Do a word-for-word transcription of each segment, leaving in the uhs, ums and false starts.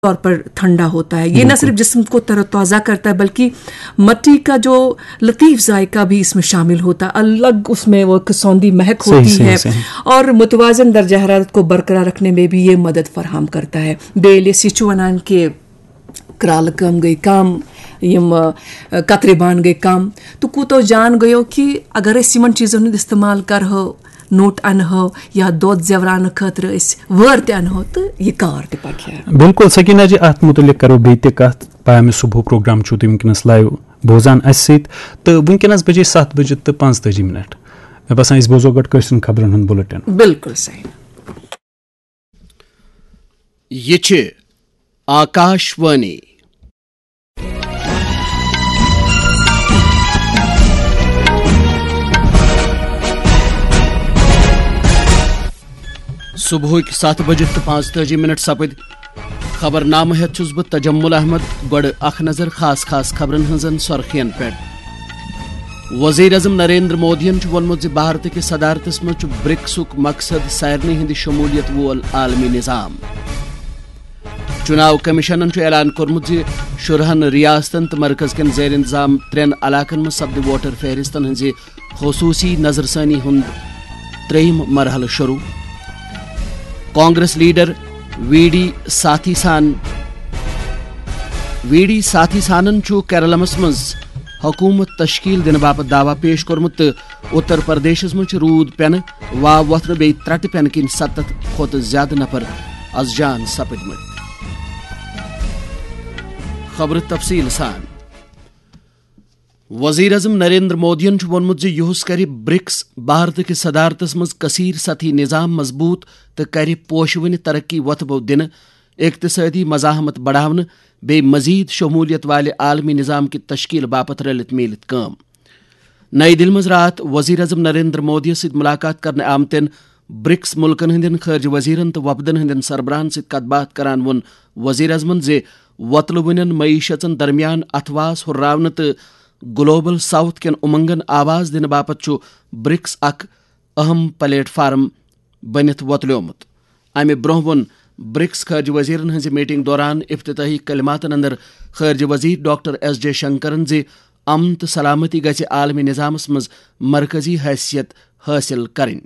طور پر ٹھنڈا ہوتا ہے۔ یہ نہ صرف جسم کو تر و تازہ کرتا ہے، بلکہ مٹی کا جو لطیف ذائقہ بھی اس میں شامل ہوتا ہے، الگ اس میں وہ ایک سوندھی مہک ہوتی ہے۔ اور متوازن درجہ حرارت کو برقرار رکھنے میں بھی یہ مدد فراہم کرتا ہے۔ بیٚیہِ ییٚلہِ أسۍ یہِ چھُ وَنان کہِ کرٛالہٕ کٲم گٔے کم، یِم، آ، کترِ بانہٕ گٔے کم، تہٕ کوٗتاہ جان گٔیو کہِ اگر أسۍ یِمن چیٖزن ہُنٛد استعمال کرہو، نوٚٹ انہو یا دۄد زیوراونہٕ خٲطرٕ أسۍ وٲر تہِ انہو، تہٕ یہِ کار تہِ پکہِ ہا۔ بِلکُل سکیٖنہ جی، اتھ مُتعلِق کرو بیٚیہِ تہِ کتھ۔ پیام صبح پروگرام چھِو تُہۍ وٕنکیٚنس لایو بوزان اسہِ سۭتۍ، تہٕ وٕنکیٚنس بجے ستھ بجے تہٕ پانٛژتٲجی منٹ۔ مےٚ باسان، أسۍ بوزو گۄڈٕ کٲشرٮ۪ن خبرن ہُنٛد بُلٹن۔ بِلکُل صحیح۔ یہِ چھِ آکاش وانی۔ صبحٕکۍ ستھ بجِتھ تہٕ پانٛژتٲجی منٹ سپٕدۍ۔ خبرنامہٕ ہٮ۪تھ چھُس بہٕ تجمل احمد۔ گۄڈٕ اکھ نظر خاص خاص خبرن ہٕنٛزن سۄرخین پٮ۪ٹھ۔ وزیر اعظم نریندر مودیَن چھُ ووٚنمُت زِ بھارت کِس صدارتس منٛز چھُ برکسُک مقصد سارنٕے ہٕنٛدِ شمولیت وول عالمی نظام۔ چُناو کمیشنن چھُ اعلان کوٚرمُت زِ شُرہن ریاستن تہٕ مرکز کٮ۪ن زیر انتظام ترٛٮ۪ن علاقن منٛز سپدِ ووٹر فہرستن ہٕنٛزِ خصوٗصی نظرثانی ہُنٛد ترٛیٚیِم مرحلہٕ شروٗع۔ کانگریس لیڈر وی ڈی ساتھی سان، وی ڈی ساتھی سانن چھُ کیرلمس منٛز حکوٗمت تشکیل دِنہٕ باپتھ دعویٰ پیش کوٚرمُت تہٕ اتر پردیشس منٛز چھُ روٗد پٮ۪نہٕ، واو وۄتھنہٕ بیٚیہِ ترٛٹہٕ پٮ۪نہٕ کِنۍ ستتھ کھۄتہٕ زِیٛادٕ نفر از جان سپٕدمٕتۍ۔ خبرٕ تفصیٖل سان۔ وزیر اعظم نریندر مودیَن چھُ ووٚنمُت زِ یُہُس کرِ برکس بھارت کِس صدارتس منٛز کثیر سطحی نظام مضبوط تہٕ کرِ پوشہٕ وٕنہِ ترقی وۄتھٕ بو دِنہٕ، اقتصٲدی مزاحمت بڑاونہٕ، بیٚیہِ مزید شمولیت والہِ عالمی نظام کہِ تشکیل باپتھ رلِتھ میٖلِتھ کٲم۔ نئی دِلہِ منٛز راتھ وزیر اعظم نریندر مودیَس سۭتۍ مُلاقات کرنہٕ آمتٮ۪ن برکس مُلکن ہٕنٛدٮ۪ن خارجہ وزیرن تہٕ وفدن ہٕنٛدٮ۪ن سربراہن سۭتۍ کتھ باتھ کران ووٚن وزیر اعظمن زِ وۄتلہٕ وٕنٮ۪ن معیشژن درمیان اتھواس ہُرراونہٕ تہٕ گلوبل ساؤتھ کٮ۪ن اُمنگن آواز دِنہٕ باپتھ چھُ برکس اکھ اہم پلیٹ فارم بٔنِتھ وۄتلیومُت۔ امہِ برونٛہہ ووٚن برکس خارجہ وزیرن ہٕنٛزِ میٹنگ دوران افتتاحی کلماتن اندر خارجہ وزیر ڈاکٹر ایس جے شنکرن زِ امن تہٕ سلامتی گژھِ عالمی نظامس منٛز مرکزی حیثیت حٲصِل کرٕنۍ۔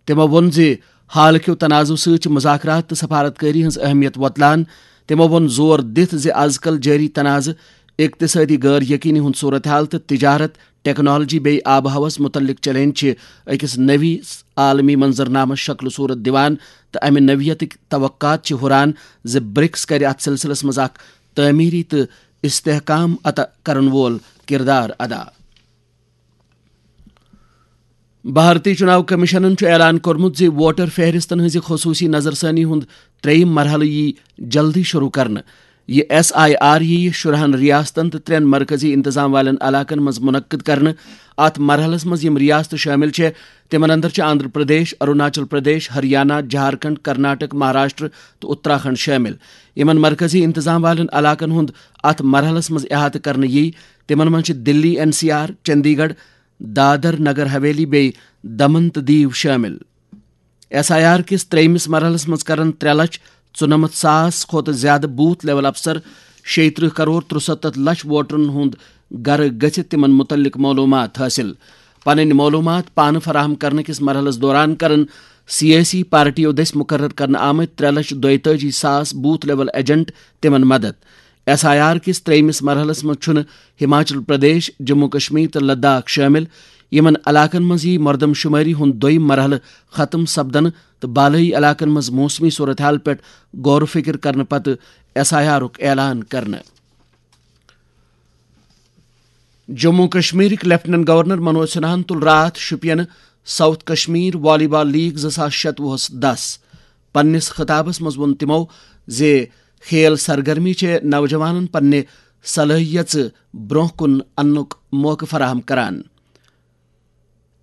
تِمو ووٚن زِ حال کیو تنازعو سۭتۍ چھِ مذاکرات تہٕ سفارت کٲری ہٕنٛز اہمیت وۄتلان۔ تِمو ووٚن زور دِتھ زِ از کل جٲری تنازعہٕ، اقتصٲدی غٲر یقینی ہُنٛد صورتحال تہٕ تجارت، ٹیکنالوجی بیٚیہِ آب و ہوس مُتعلق چیلنج چھِ أکِس نٔوِس عالمی منظرنامس شکل و صورت دِوان تہٕ امہِ نوعیتٕکۍ توقعات چھِ ہُران زِ برکس کرِ اتھ سلسلس منٛز اکھ تعمیری تہٕ استحکام عطا کرن وول کردار ادا۔ بھارتی چُناو کمیشنن چھُ اعلان کوٚرمُت زِ ووٹر فہرستن ہٕنٛزِ خصوٗصی نظرثانی ہُنٛد ترٛیٚیِم مرحلہٕ یِیہِ جلدی شروٗع کرنہٕ۔ یہِ ایس آئی آر یِیہِ شُرہن ریاستن تہٕ ترٛٮ۪ن مرکزی انتظام والٮ۪ن علاقن منٛز منعقد کرنہٕ۔ اتھ مرحلس منٛز یِم ریاستہٕ شٲمِل چھےٚ، تِمن اندر چھِ آندھرا پردیش، اروناچل پردیش، ہریانہ، جھارکھنڈ، کرناٹک، مہاراشٹر تہٕ اتراکھنڈ شٲمِل۔ یِمن مرکزی انتظام والٮ۪ن علاقن ہُنٛد اتھ مرحلس منٛز احاطہٕ کرنہٕ یِیہِ، تِمن منٛز چھِ دِلی این سی آر، چندی گڑھ، دادر نگر حویلی بیٚیہِ دمن تہٕ دیو شٲمِل۔ ایس آئی آر کِس ترٛیٚیمِس مرحلس منٛز کرن ترٛےٚ لچھ ژُنَمَتھ ساس کھۄتہٕ زِیٛادٕ بوتھ لیول افسر، شیٚیہِ ترٕٛہ کرور ترُسَتتھ لچھ ووٹرن ہُنٛد گرٕ گٔژھِتھ تِمن مُتعلق معلوٗمات حٲصِل۔ پنٕنۍ معلوٗمات پانہٕ فراہم کرنہٕ کِس مرحلس دوران کرن سیٲسی پارٹیو دٔسۍ مُقرر کرنہٕ آمٕتۍ ترٛےٚ لچھ دۄیتٲجی ساس بوتھ لیول ایجنٹ تِمن مدد۔ ایس آئی آر کِس ترٛیٚیمِس مرحلس منٛز چھُنہٕ ہماچل پردیش، جموں کشمیر تہٕ لداخ شٲمِل۔ یِمن علاقن منٛز یِیہِ مردم شمٲری ہُنٛد دوٚیِم مرحلہٕ ختم سپدنہٕ تہٕ بالٲیی علاقن منٛز موسمی صورتحال پٮ۪ٹھ غور و فکر کرنہٕ پتہٕ ایس آئی آرُک اعلان کرنہٕ۔ جموں کشمیرٕکۍ لیفٹیننٹ گورنر منوج سنہاہن تُل راتھ شوپین ساؤتھ کشمیر والی بال لیگ زٕ ساس شتوُہس دس۔ پننِس خطابس منٛز ووٚن تِمو زِ کھیل سرگرمی چھےٚ نوجوانن پننہِ صلٲحیژٕ برونٛہہ کُن اننُک موقعہٕ فراہم کران۔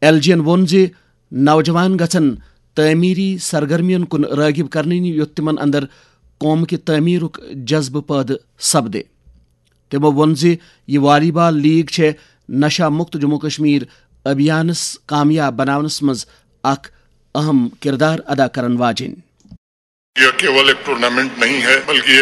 ایل جی ین ووٚن زِ نوجوان گژھن تعمیری سرگرمین کُن رٲغب کرنہٕ یِنۍ، یُتھ تِمن اندر قوم کہِ تعمیرُک جذبہٕ پٲدٕ سپدِ۔ تِمو ووٚن زِ یہِ والی بال لیگ چھےٚ نشہ مکت جموں کشمیر ابھیانس کامیاب بناونس منٛز اکھ اہم کردار ادا کرن واجیٚنۍ۔ यह केवल एक टूर्नामेंट नहीं है, बल्कि एक